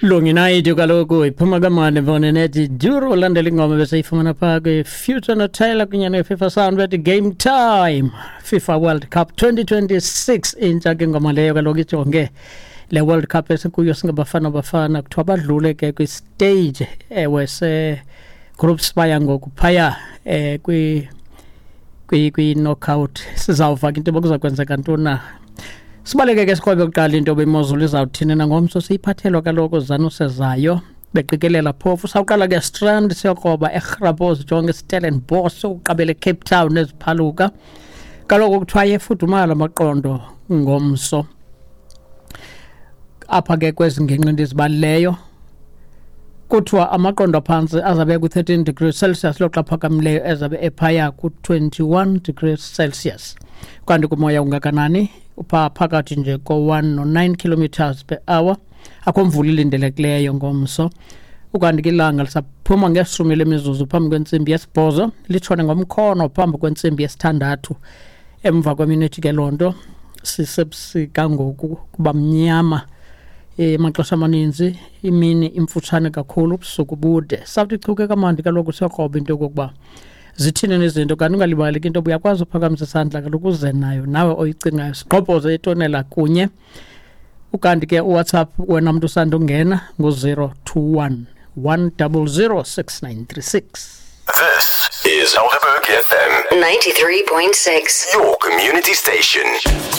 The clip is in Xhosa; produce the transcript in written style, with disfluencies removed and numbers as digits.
Lungi kaloku iphuma kamani mfone nethi duro landela ingoma beseyifumana phaa kwi-Future noTaylor kunye ne-FIFA Sound bethi Game Time, FIFA World Cup 2026. Intsha ke ingoma leyo kaloku, ijonge le World Cup esikuyo singabafana bafana. Kuthiwa badlule ke kwi-stage, ewe, se-groups, baya ngoku phaya kwi-knockout. Sizawuva ke into yoba kuza kwenzeka ntoni na. Sibaleke ke sikrobe kuqala into yoba imozulu izawuthini nangomso. Siyiphathelwa kaloku zanusezayo beqikelela phofu. Sawuqala ke Strand, siyokroba eGrabos, jonge Stellenbosch, sokuqabela eCape Town eziphaluka. Kaloku kuthiwa yefudumala amaqondo ngomso. Apha ke kwezi ngingqi ndizibalileyo kuthiwa amaqondo aphantsi azabe ku-13 degrees Celsius, loxa aphakamileyo ezabe ephaya ku-21 degrees Celsius. Kanti kumoya ungakanani? Upha phakathi nje ko-1 no-9 kilometers per hour. Akho mvula ilindelekileyo ngomso. Ukanti ke ilanga lisaphuma ngeshumi lemizuzu phambi kwentsimbi yesibhozo, litshone ngomkhono phambi kwentsimbi yesithandathu. Emva kweminethi ke loo nto sisebusika ngoku, kuba mnyama emaxesha amaninzi, imini imfutshane kakhulu, ubusuku bude. Sawuthi chuke kamandi kaloku, siyokroba into yokokuba zithini nezinto. Kanti ungalibali ke into yoba uyakwazi uphakamisa isandla kaloku, uze nayo nawe oyicingayo, sigqobhoze itonela kunye. Ukanti ke uWhatsApp wena mntu usandungena ngu-021 100 6936. This is Helderberg FM 93.6. your community station.